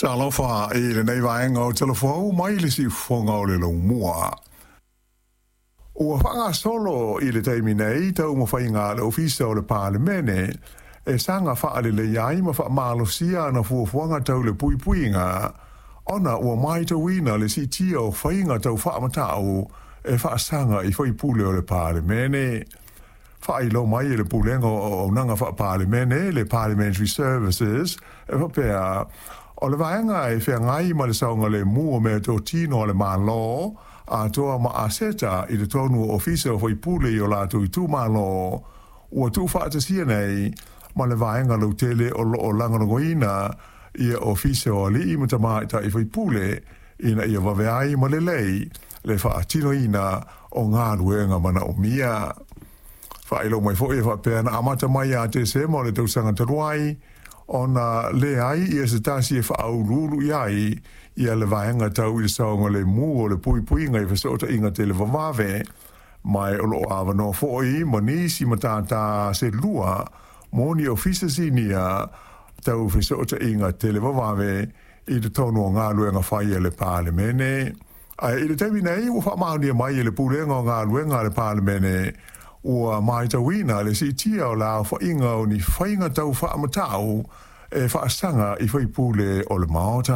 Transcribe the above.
Talofa i lenei vaega o Talafou mai le siufofoga o le laumua. Ua faagasolo i le taimi nei taumafaiga a le Ofisa o le Palemene e saga faaleleia ai ma faamalosia ana fuafuaga tau le puipuiga, ona ua matauina le siitia o faiga tau faamatau e faasaga i faipule o le Palemene. Faailoa mai e le Pulega o Auaunaga Faa-Palemene, le Parliamentary Services, e faapea, o le vaega e feagai ma le saogalemu o meatotino a le Malo, atoa ma aseta i totonu o ofisa o faipule i o latou itumalo, ua tuufaatasia nei ma le vaega lautele o lo o lagolagoina ia ofisa o alii ma tamaitai faipule ina ia vave ai ma lelei le faatinoina o galuega manaomia. Faailoa mai foi e faapea na amata mai ia Tesema o le tausaga talu ai ona leai ia se tasi e faauluulu i ai ia le vaega tau i le saogalemu o le puipuiga i fesootaiga televavave, ma o lo o avanoa foi ma nisi matata se lua mo ni ofisa sinia tau fesootaiga televavave i totonu o galuega fai a le Palemene. Ae i le taimi nei ua faamaonia mai e le Pulega o Galuega a le Palemene ua matauina le siitia o le aofaiga o ni faiga tau faamatau e faasaga i faipule o le Maota.